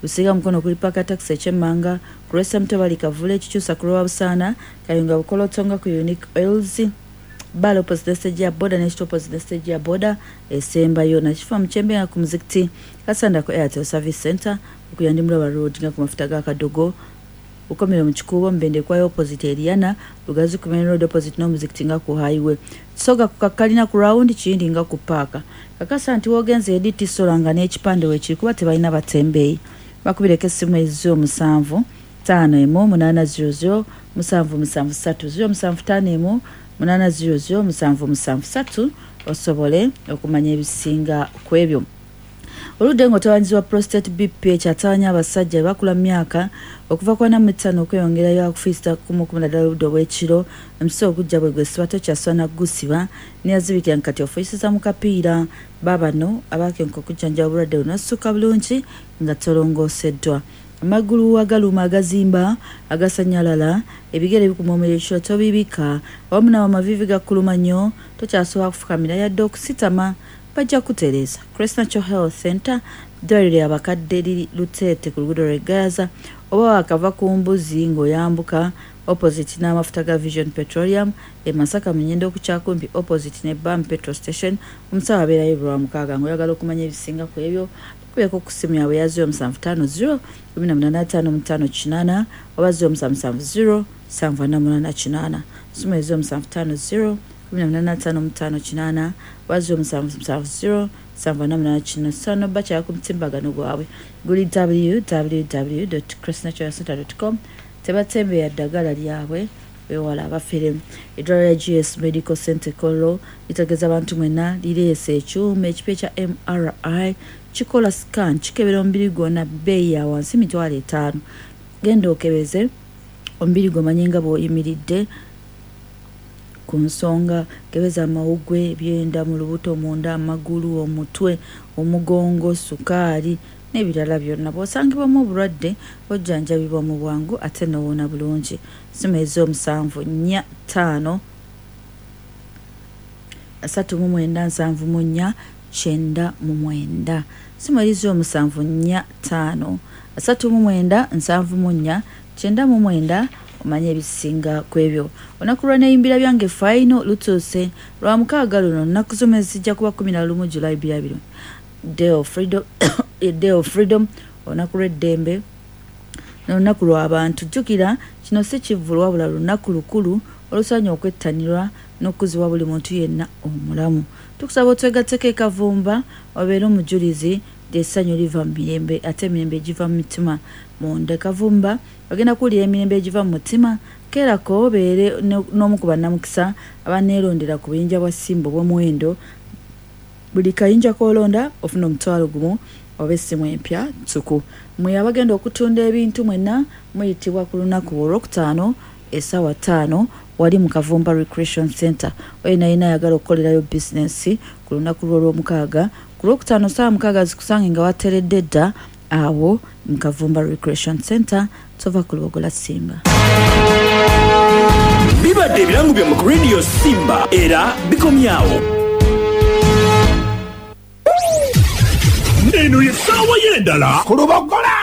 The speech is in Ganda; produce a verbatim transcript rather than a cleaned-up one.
Busiga Mukono kuli Paka Taxi ekyemmanga, ku lw'e Mutobali Kavule, Kikyusa ku lwa Busaana, Kayunga Bukoloto nga ku Unique Oils, Bale opposite stage ya boda ne opposite stage ya boda esembayo, Nakifa Mukyembe nga ku muzikiti, Kasanda ku Airtel Service Center, Okuyandi Mulaba Road nga ku mafuta ga Kadogo, Bukomero mu Kikuubo, Mbende kwayo opposite Eriana, Lugazi ku main road opposite n'omuzikiti nga ku highway, Kisoga ku Kakalina ku round, Kiyindi nga ku paaka. Kakasa nti wogenze edi Tisola nga n'ekipande weekiri, kuba tebalina batembeeyi. Bakubireko essimu ezi omusanvu ttaano emu munaana zero zero musanvu musanvu ssatu, zero musanvu ttaano emu munaana zero zero musanvu musanvu ssatu, osobole okumanya ebisinga ku ebyo. Oludde ng'otawanyizibwa prostate B P ekyatawanya abasajja bakula mu myaka okuva ku ana mu ttaano okweyongerayo, akufiisa kumukumu naddala obudde obw'ekiro. Omusiba ogujja bwe gwesiba tokyaswana kugusiba, neyazibikira kati ofuuyisiza mu kapiira. Baabano abakenka okujjanjaba obulwadde buno ossuka bulungi nga tolongooseddwa. Amagulu agaluma, agazimba, agasanyalala, ebigere bikuma omuliro ekiro tobibika, awamu nawo amaviivi gakuluma nnyo, tokyasobola kufukamira yadde okusitama, bajja kutereeza. Crest Natural Health Center, ddwaliro abakadde liri Luteete ku luguudo lw'e Gayaza, oba wakava ku mbuzi ng'oyambuka, opposite n'amafuta ga Vision Petroleum. E Masaka Munyendo okukyakumpi, opposite ne Bam Petrol Station. Omusawo abeerayo lwa mukaaga. Ng'oyagala okumanya ebisinga ku ebyo, bakubireko ku ssimu yaabwe ya zero musanvu ttaano zero kumi na munaana ttaano ttaano kinaana oba zero musanvu musanvu zero nsanvu ana munaana kinaana. Ssimu e zero musanvu ttaano zero kumi na munaana ttaano ttaano kinaana oba zero musanvu musanvu zero nsanvu ana munaana kinaana. Sono bakyala ku mutimbagano gwabwe guli W W W crestnaturalcenter com. Tebatembeya ddagala lyabwe, wewala abafere. Eddwaliro lya G S Medical Center Kololo litegeeza abantu mwenna lireese ekyuma ekipya ekya M R I, kikola scan, kikebera omubiri gwonna, bbeeyi ya wansi, mitwalo etaano. Genda okebeze omubiri gwomanye nga bw'oyimiridde ku nsonga. Kebeza amawuggwe, ebyenda, mu lubuto munda, amagulu, omutwe, omugongo, sukaali n'ebirala byonna. Bw'osangibwamu obulwadde ojjanjabibwa mu bwangu ate n'owona bulungi. Simu ez'omusanvu nnya ttaano asatu mu mwenda nsanvu mu nnya kyenda mu mwenda. Simu eri z'omusanvu nnya ttaano asatu mu mwenda nsanvu mu nnya kyenda mu mwenda, omanye ebisinga ku ebyo. Olunaku lwa Neyimbira Byange Final lutuuse lwa mukaaga luno, nnaku z'omwezi zijja kuba kumi na lumu July bbiri abiri, Day of Freedom, Day of Freedom, olunaku lw'eddembe n'olunaku lw'abantu. Jjukira kino si kivvulu, wabula lunaku lukulu olusaanye okwettanirwa n'okukuzibwa buli muntu yenna omulamu. Tukusaba otwegatteko ekavumba, obeere omujulizi nti essanyu liva mu mirembe ate emirembe egiva mu mitima munda. Ekavumba bagenda kuwulira emirembe egiva mu mutima. Keerako obeere n'omu ku bannamukisa abaneerondera ku buyinja bwa Simba obw'omuwendo. Buli kayinja k'olonda ofuna omutwalo gumu oba essimu empya ttuku. Mwe abagenda okutunda ebintu mwenna muyitibwa ku lunaku olwokutaano essaawa ttaano wali mu Kavumba Recreation Center. Oyina yina ayagala okukolerayo bizinensi ku lunaku lw'olwomukaaga, ku lwokutaano ssaawa mukaaga zikusange nga wateredde dda awo mu Kavumba Recreation Center. Tova ku Lubogola Simba. Bibadde ebirango byammwe ku Radio Simba, era bikomyawo. Eno ye ssaawa y'endala ku Lubogola.